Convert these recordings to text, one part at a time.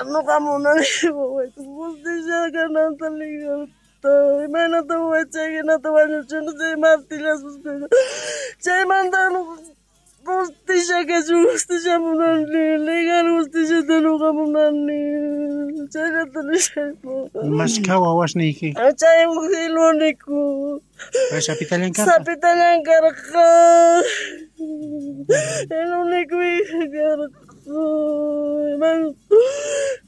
Noqa munani wawayta justicia kananta legalta. Imaynata waway chay hinata wañuchini chay martillaspas chaymanta justicia kachun, justicia munani, legal justiciata noqa munani. Chayllata nishayku. Mashkha wawasniyki? Chay uj el único. Pay sapitallan karqa? Sapitallan karqa. El único hija karqa.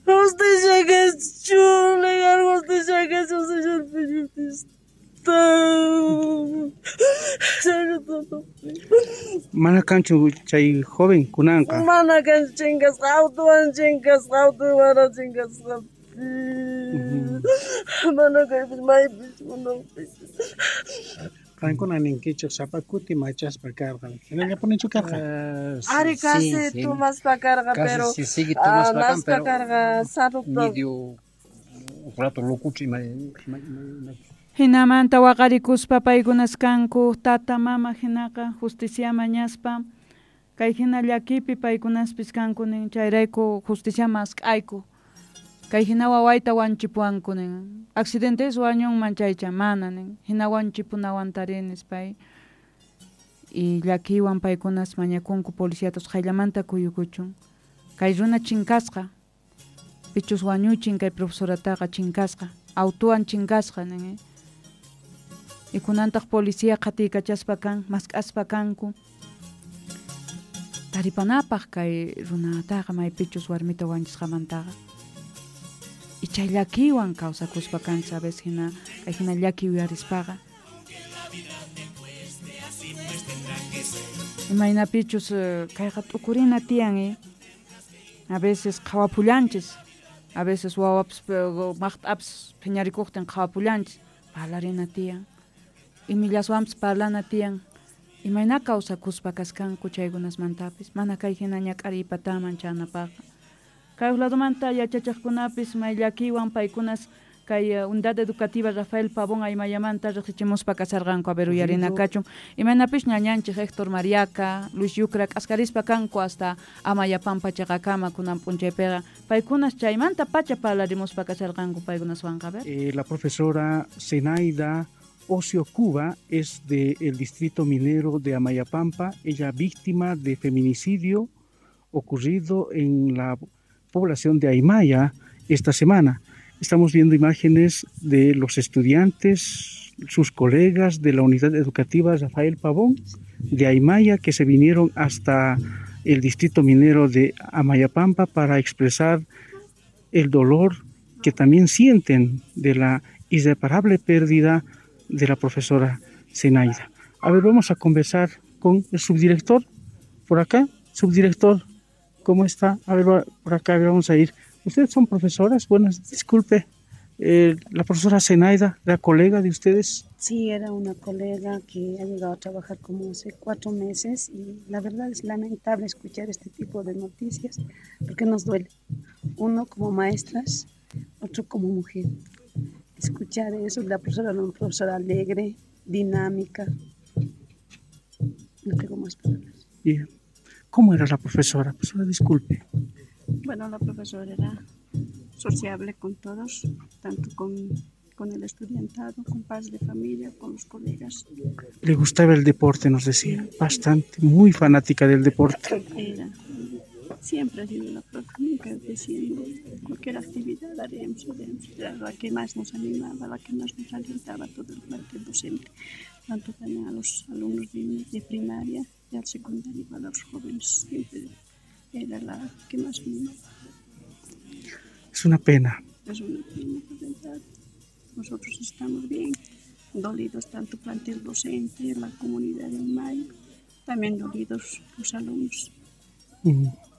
Justicia kachun, legal justicia kachun, señor periodista. Mana kanchu chay joven kunanqa? Mana kanchu, chinkasqa, autowan chinkasqa, autowan chinkasqa. Mana kaypis maypis kunanpis. Qankuna ninkichej sapa kuti machaspa karqa. Jinallapunichu karqa? Ari casi tomaspa karqa, pero casi sigue tomaspa kan, naspa pero karqa sarupa. Medio un rato locucho ima ima ima. Jinamanta waqarikuspa paykunas kanku tata mama jinaqa justicia mañaspa kay jina llakipi paykunaspis kanku nin chayrayku justicia mask'ayku kay jina wawayta wanchipuwanku nin accidentes wañunman chaycha mana nin jina wanchipunawantari nispay y llakiywan paykunas mañakunku policiatos qayllamanta kuyukuchun kay runa chinkasqa pichus wañuchin kay profesorataqa chinkasqa autuwan chinkasqa nin y kunantaq policía qhatiykachaspa kan mask'aspa kanku taripanapaq kay runataqa maypichus warmita wanchisqamantaqa y chay llakiywan kawsakuspa kan sabes hina kay hina llaki uyarispaqa imaynapichus kayqa t'ukurina tiyan a veces qhawapullanchis a veces wawapas maqt'apas phiñarikuqtin qhawapullanchis parlarina tiyan imillaswanpas parlana tiyan imayna kawsakuspa kaskanku chaykunasmantapis mana kay hina ñak'ariypataman chanapaqqa kay ladomanta yachachiqkunapis may llakiywan paykunas kay Unidad Educativa Rafael Pavón Aymayamanta riqsichimuspa kasarqanku a ver uyarina kachun imaynapis ñañanchik Héctor Mariaca Luis Yucra k'askarispa kanku hasta Amayapampa chaqakama kunan p'unchaypiqa paykunas chaymanta pacha parlarimuspa kasarqanku paykunaswanqa a ver. La profesora Zenaida Ocio Cuba es del distrito minero de Amayapampa, ella víctima de feminicidio ocurrido en la población de Aymaya esta semana. Estamos viendo imágenes de los estudiantes, sus colegas de la unidad educativa Rafael Pavón de Aymaya que se vinieron hasta el distrito minero de Amayapampa para expresar el dolor que también sienten de la irreparable pérdida de la profesora Zenaida. A ver, vamos a conversar con el subdirector por acá. Subdirector, ¿cómo está? A ver, por acá, a ver, vamos a ir. ¿Ustedes son profesoras? Bueno, disculpe, la profesora Zenaida, ¿era colega de ustedes? Sí, era una colega que ha llegado a trabajar como hace 4 meses y la verdad es lamentable escuchar este tipo de noticias porque nos duele. Uno como maestras, otro como mujer. Escuchar eso, la profesora era una profesora alegre, dinámica. No tengo más palabras. Bien. ¿Cómo era la profesora? Profesora, disculpe. Bueno, la profesora era sociable con todos, tanto con el estudiantado, con padres de familia, con los colegas. Le gustaba el deporte, nos decía, bastante, muy fanática del deporte. Era, siempre ha sido la profe, nunca diciendo cualquier actividad haremos, haremos. Era la que más nos animaba, la que más nos alentaba, todo el plantel docente, tanto también a los alumnos de primaria y al secundario, a los jóvenes, siempre era la que más animaba. Es una pena. Es una pena, la verdad. Nosotros estamos bien dolidos, tanto plantel docente, la comunidad de Mayo, también dolidos los alumnos.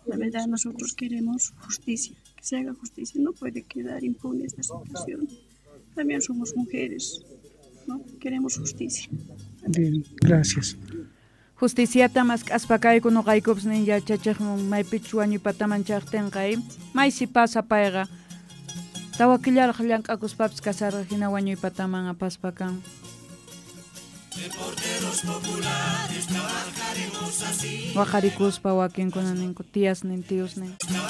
La verdad, nosotros queremos justicia, que se haga justicia. No puede quedar impune esta situación. También somos mujeres, ¿no? Queremos justicia. Bien, gracias. Justiciata mask'aspakayku noqaykupas nin yachachiqman maypichus wañuypataman chaqtinqa maysi pasa payqa tawa killaraq llank'akuspapis kasarqa hina wañuypataman apaspa kan. Waqarikuspa wakinkuna ninku tías nin tíos nin.